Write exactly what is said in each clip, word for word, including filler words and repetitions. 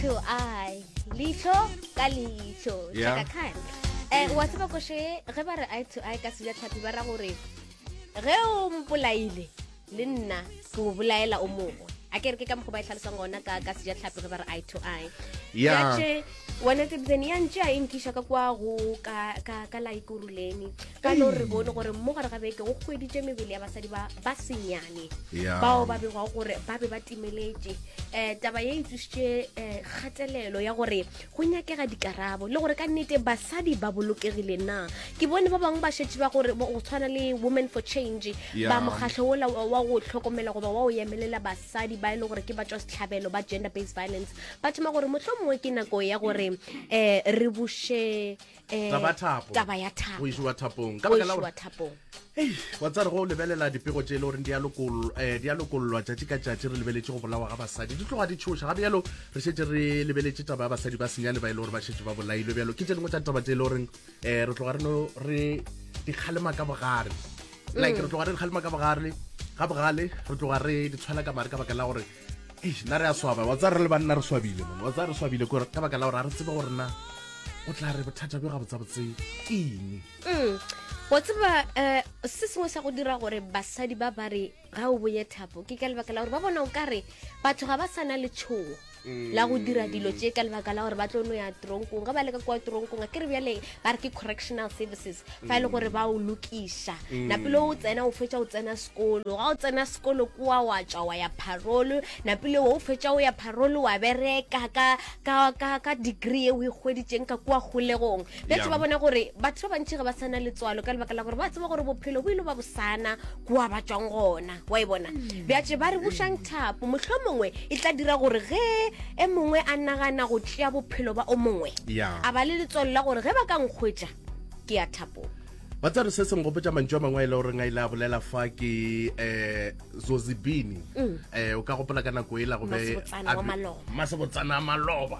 To eye, leihlo ka leihlo. Yeah. Chaka Khan. Eh, wa tseba koše ge ba re eye to eye ka sejatlhapi ba ra gore ge o mpolaile le nna ke o bolaela o mongwe. A ke re ke ka mokgwa ba e hlalosang gona ka ka sejatlhapi ge ba re eye to eye. Yeah. Bjatše, wena Tebzeni ya ntše a e nkiša ka kwa go ka ka ka la Ekurhuleni ka no re bone gore mo gare ga beke go hweditše mebele ya basadi ba ba senyane Yeah. bao ba begwago gore ba be ba timeletše. Um taba ye e tsošitše um kgatelelo ya gore go nyakega dikarabo le gore ka nnete basadi ba bolokegile na. Ke bone ba bangwe ba šetše ba gore go tshwana le Women for Change, Yeah. ba mokgatlho wola wa wa go hlokomela goba wa o emelela basadi ba e le gore ke ba tšwa sehlabelo ba gender based violence, ba thoma gore mohlomongwe ke nako ya gore um re buše eh, Taba ya thapo. taba ya thapo. Go išiwa thapong. Ka Go baka la išiwa gore thapong. Ei, wa tsare go lebelela dipego tše e le goreng di a lokol- eh, di a lokollwa tšatši ka tšatši, re lebeletše go bolawa ga basadi, di tloga di tšhoša. Ga bjalo re šetše re lebeletše taba ya basadi ba senyane ba e le gore ba šetše ba bolailwe. Bjalo ke tše dingwe tša ditaba tše e le goreng um re tloga re no re di kgalema ka bogare, like re tloga re di kgalema ka bogare ga bogale, re tloga re di tshwela ka mare ka baka la gore eish, nna re a swaba. Wa tsaya re le banna re swabile man, wa tsaya re swabile kore ka baka la gore ga re tsebe gore na o tla re bothata bjo gabotsebotse ke eng. Mm. Wa tseba um se sengwe sa go dira gore basadi ba ba re ga o bonye thapo ke ka lebaka la gore ba bona o kare batho ga ba sa na letšhogo la go dira dilo tše ka lebaka la gore ba tlo no ya tronkong. Ge ba le ka kwa tronkong, a ke re bjale ba re ke correctional services, fa e le gore ba o lokiša napile o tsena o fetša o tsena sekolo, ga o tsena sekolo kua wa tšwa wa ya parole, napile o fetša o ya parole wa bereka ka, ka, ka, ka degree ye o e hweditšeng ka kua kgolegong. Bjale Yeah. ba bona gore batho ba bantši ga ba sana letswalo ka lebaka la gore ba tseba gore bophelo bo ile ba bosana kua ba tšwang gona, wa e bona. Bjatše ba re bušang thapo, mohlomongwe e tla dira gore ge e mongwe a nagana go tšea bophelo ba o mongwe, Yeah. a ba le letswalo la gore ge ba ka nkgwetša ke ya thapong. Ba tsare se se nkgopotša mantšu a mangwe a e le goreng a ile a bolela fa ke um Zozibini. um o ka gopola ka nako e la go be Masebotsana a wa be- maloba. Masebotsana a maloba.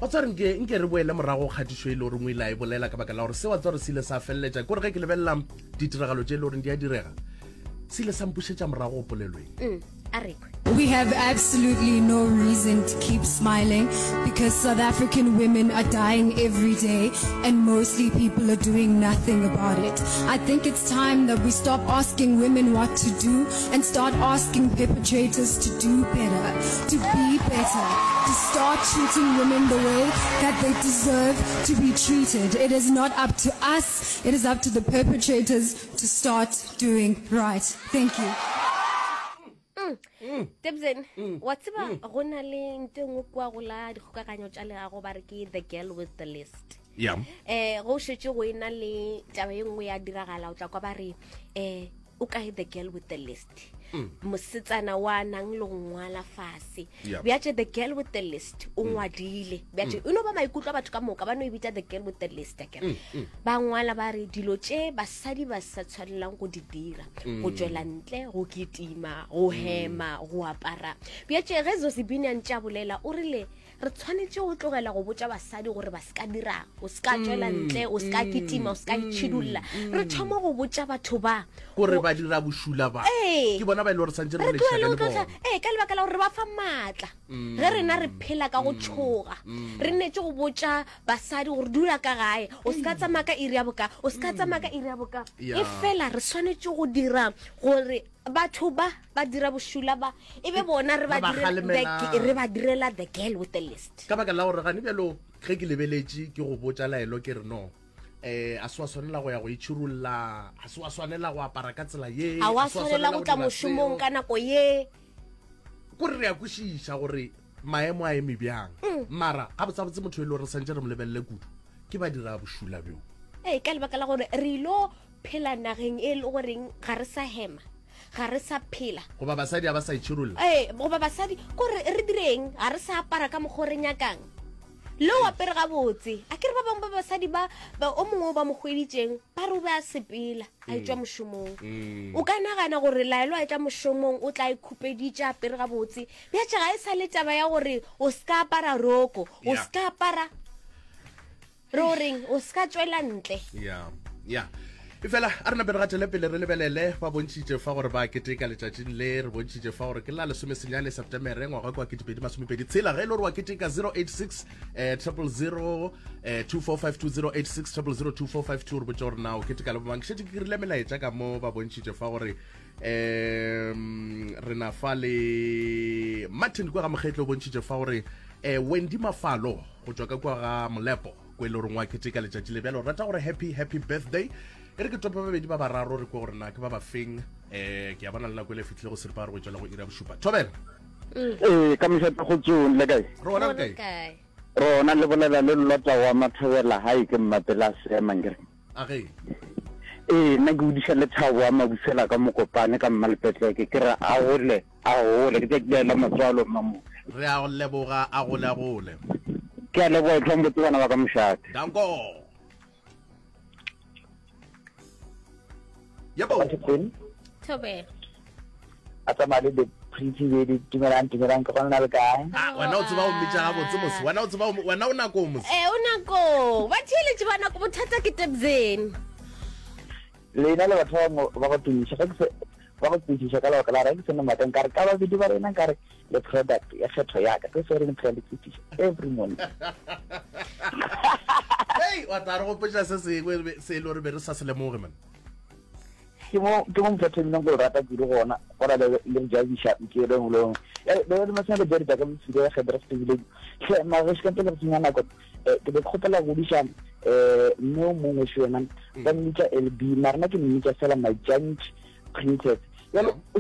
Wa tsare nke nke re boele morago kgatišo e le goreng o ile a e bolela, ka baka la gore se wa tsare se ile sa feleletša kore ge ke lebelela ditiragalo tše e le goreng di a direga, se ile sa mpušetša morago go polelweng. Mm. A re kwe. We have absolutely no reason to keep smiling because South African women are dying every day and mostly people are doing nothing about it. I think it's time that we stop asking women what to do and start asking perpetrators to do better, to be better, to start treating women the way that they deserve to be treated. It is not up to us, it is up to the perpetrators to start doing right. Thank you. Tebzen, wa tseba go na le nto e nngwe kua go la dikgokaganyo tša leago ba re ke the girl with the list. Yeah. Eh, go šetše go ena le taba ye nngwe ya diragala, o tla kwa ba re um o kae the girl with the list, mosetsana wa nang le go ngwala fase. Yeah. Bjatše the girl with the list o ngwadile, bjatše e no ba maikutlo a batho ka moka ba no e bitša the girl with the list, akere ba ngwala ba re dilo tše basadi ba sa tshwanelang go di dira, go tšwela ntle, go kitima, go hema, go apara. Bjatše ge Zozibini a ntše a bolela o rile re tshwanetše go tlogela go botša basadi gore ba se ka dirang, o se ka tšwela ntle, o se ka kitima, o se ka itšhidulla. Re thoma go botša batho ba gore ba dira bošula ba Ee. ke bona ba e le gore santse re re tlogele boledišana go le tlotla bona. ee, ka lebaka la gore re ba fa maatla ge rena re phela ka go tšhoga. Re nnetse go botša basadi gore dula ka gae, o se ka tsamaya ka iri ya boka, o se ka tsamaya ka iri ya boka. Yeah. E fela re swanetše go dira gore batho ba ba dira bošula ba e be bona re ba Re ba direla the- kgalemelang. re ba direla the girl with the list. Ka baka la gore gane bjalo ge ke lebeletše ke go botša laelo ke re no um a se wa swanela go ya go itšhirulla, a se wa swanela go apara ka tsela ye, ga wa a se wa swanela go tla dira mošomong seo. ka nako ye. Kore re a kwešiša gore maemo a eme bjang, mara gabotsebotse motho e le gore re santse re mo lebelele kudu ke ba dira bošula bjo. Ee, ka lebaka la gore re ilo phela nageng e le goreng ga re sa hema, ga re sa phela. Goba basadi ga ba sa itšhirulla. Ee, goba basadi kore re direng, ga re sa apara ka mokgwa o re nyakang, le o apere gabotse. A ke re ba bangwe ba basadi ba ba- o mongwe o ba mo hweditšeng ba re o be a sepela a etšwa mošomong, o ka nagana gore laelo a etla mošomong o tla e khupeditše apere gabotse. Bjatše ga e sa le taba ya gore o se ka apara roko, o Yeah. se ka apara re o reng, o se ka tšwela ntle. Ya, ya. E fela a re nape re gatele pele re lebelele ba bontšhitše fa gore ba keteka letšatšing le re bontšhitše fa gore ke la lesomesenyane Septemere ngwaga kwa ketepedi masomepedi tshela ge e le gore wa keteka zero eight six eh, triple zero eh, two four five two zero eight six triple zero two four five two re botše gore na o keteka le bomang šetše ke kirile melaetša ka mo ba bontšhitše fa gore um re na fa le Martin kwa ga Mokgetlo o bontšhitše fa gore eh, Wendy Mafalo go tšwa ka kwa ga Molepo ko e le goreng wa keteka letšatši le bjalo rata gore happy happy birthday e re ke tope babedi ba bararo re kwe gore na ke ba ba feng um ke a bona le nako e le fitlhile go seripa re go tšwela go ira bošupa thobela ee ka mošate go tsong le kae re gona re kae rona le bolela le lota wa mathobela hae ke mmapela seemang kere a ge ee nna ke odiša lethabo wa mabusela ka mokopane ka mmalepetleke ke re a gole a gole ke tšatši la matswalo mmamo re a go leboga a gole a gole ke a leboga e tlhombotse bana ba ka mošate danko yebo Thobela. A tsamaya le the pretty lady dumelang dumelang ke gona le kae Ah, wena o tseba o mmitša gabotse mos wena o tseba o- wena o nakong mos Eh, o nako ba theeletše ba nako bothata ke tebzeni lena le batho ba bangwe ba go tumiša ge ke se ba go tsebiša ka lebaka la gore ge ke sene maaka nkare ka babedi ba rena nkare le product ya kgetho yaka ke se re phela le tsebiša every morning hei wa tla re gopotša se sengwe se e le gore be re sa se lemoge man ke mo ke mo motho a thomileng go rata kudu gona gona le le jabiša ke le ngwe le ngwe le le masana le jari ka motshire ya kgetho re fetile hle mara se ka pele go senya nako ke be ke kgopela go diša eh mme o mongwe se yena ba mmitša L B mara nna ke mmitša fela my giant princess jalo o